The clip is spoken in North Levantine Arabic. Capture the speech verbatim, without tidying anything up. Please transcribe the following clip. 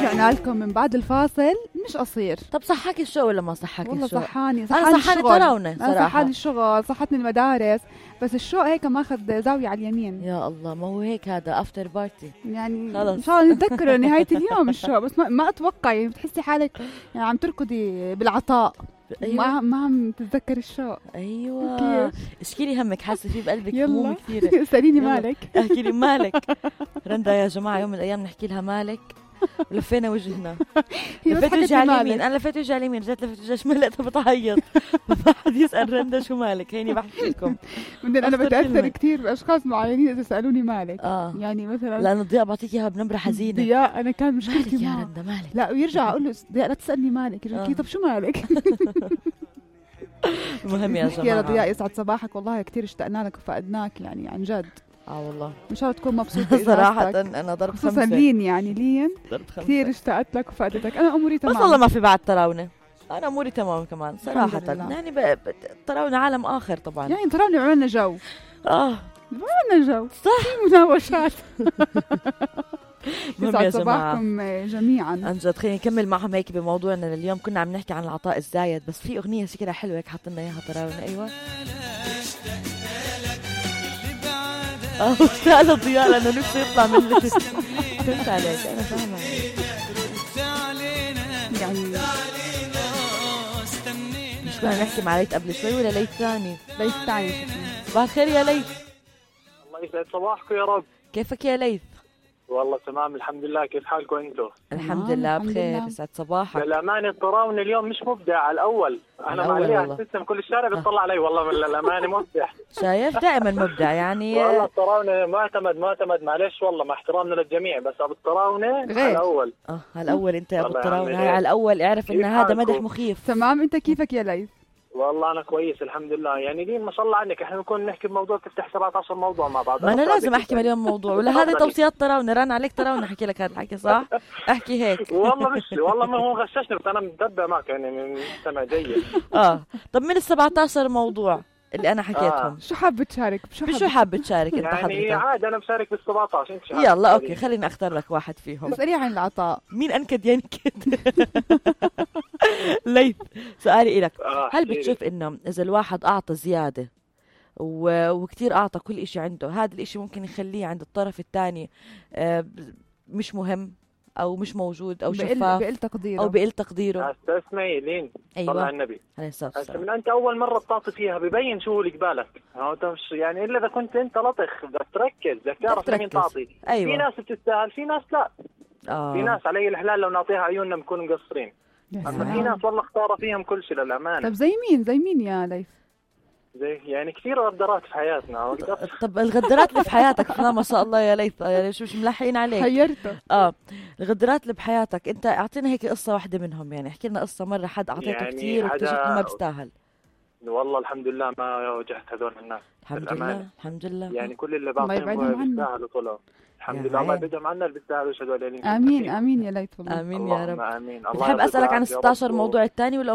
رجعنا لكم من بعد الفاصل. مش قصير. طب صحاك الشوق ولا ما صحاك والله الشوق؟ صحاني صحاني أنا صحاني تراونة صراحة. صحاني الشغل، صحتني المدارس، بس الشوق هيك ماخذ زاوية على اليمين. يا الله، ما هو هيك هذا افتر بارتي يعني خلص. ان شاء الله نتذكره نهاية اليوم الشوق، بس ما, ما اتوقع يعني بتحسي حالك يعني عم تركضي بالعطاء. أيوة. ما ما عم تتذكر الشوق. ايوه اشكي لي همك، حاسه فيه بقلبك هموم كثيره. اساليني مالك. احكي لي مالك. رندا يا جماعه يوم من الايام نحكي لها مالك ولفينا وجهنا. لفيت وجهي على اليمين، انا لفيت وجهي على اليمين، رجعت لفيت وجهي شمال لقيتها بتعيط. ما حد يسال رندا شو مالك، هيني بحكي لكم. انا بتاثر كثير باشخاص معينين اذا سالوني مالك. آه. يعني مثلا لانه ضياء بعطيك اياها بنبره حزينه. ضياء انا كان مشكلتي يا معه رندا مالك. لا ويرجع اقول له ضياء لا تسالني مالك، يرجع آه. طب شو مالك. المهم يا جماعه يا ضياء يسعد صباحك، والله كثير اشتقنا لك وفقدناك يعني عن جد. اه والله ان شاء الله تكون مبسوطه. صراحه انا ضرب خمسه خصوصا لين يعني لين كثير اشتقت لك وفقدتك. انا اموري تمام بس والله ما في بعد تراونه، انا اموري تمام كمان صراحه. يعني تراونه عالم اخر طبعا، يعني تراونه عملنا جو. اه عملنا جو صح، مناوشات. يسعد صباحكم جميعا. عن جد. خلينا نكمل معهم هيك بموضوعنا لليوم. كنا عم نحكي عن العطاء الزايد، بس في اغنيه شكلها حلوه هيك حاطين لنا اياها تراونه. ايوه اه هذا ضياء لانه نفسه يطلع من اللي فهمت عليك. انا فاهمه يعني مش كنا نحكي مع ليث قبل شوي ولا ليث ثاني؟ ليث ثاني. صباح الخير يا ليث. الله يسعد صباحكم يا رب. كيفك يا ليث؟ والله تمام الحمد لله. كيف حالكم انتم؟ الحمد لله بخير. يسعد صباحك. للأمانة التراون اليوم مش مبدع على الأول. أنا معليها السيستم كل الشارع بيطلع علي والله من الأمانة مبدع. شايف دائما مبدع يعني. والله التراون معتمد معتمد معلش والله مع احترامنا للجميع، بس أبو التراون على الأول. اه على الأول أنت يا أبو التراون هاي على الأول. اعرف إن هذا مدح مخيف. تمام. أنت كيفك يا ليث؟ والله أنا كويس الحمد لله. يعني لين ما شاء الله عنك احنا نكون نحكي بموضوع تفتح سبعة عشر موضوع مع بعض. ما أنا لازم أحكي مليون موضوع ولا هذه توصيات تراونة. رن عليك تراونة أحكي لك هذا الحكي صح؟ أحكي هيك. والله مش والله ما هو غششني، بس أنا متبع معك يعني مستمع جيد. آه طب من السبعة عشر موضوع اللي أنا حكيتهم آه. شو حابة تشارك؟ بشو حابة, بشو حابة تشارك أنت يعني حضرتك؟ عادي أنا بشارك بالسبعة عشر. أنت يلا أوكي خليني أختار لك واحد فيهم. اسألي عن العطاء. مين أنكد ينكد؟ ليث سؤالي إلك. آه هل بتشوف إنه إذا الواحد أعطى زيادة و... وكتير أعطى كل إشي عنده، هذا الإشي ممكن يخليه عند الطرف الثاني آه مش مهم أو مش موجود أو شفاف بقل تقديره أو بقل تقديره؟ استسمعي لين أيوة. صلى على النبي عليه الصلاة والسلام. من أنت أول مرة بتعطي فيها ببين شو اللي قبالك. يعني إلا إذا كنت أنت لطخ بدك تركز، بدك تعرف لمين تعطي. أيوة. في ناس بتستاهل في ناس لا. آه. في ناس علي الحلال لو نعطيها عيوننا بنكون مقصرين، أما في ناس والله اختار فيهم كل شيء للأمانة. طب زي مين زي مين يا ليث؟ زي يعني كثير غدرات في حياتنا. طب الغدرات اللي في حياتك ما شاء الله يا ليث يعني شو مش ملحقين عليك. حيرته. اه الغدرات اللي بحياتك انت اعطينا هيك قصه واحده منهم. يعني احكي لنا قصه مره حد اعطيته يعني كثير واكتشفت انه ما بيستاهل. والله الحمد لله ما واجهت هذول الناس. الحمد لله الحمد لله. يعني كل اللي بعطيهم بيستاهلوا طلعوا الحمد لله. الله يبعدهم عنا اللي بيستاهلوا هذول. امين امين يا ليث والله. امين يا رب. امين. بحب اسالك عن ستة عشر موضوع الثاني ولا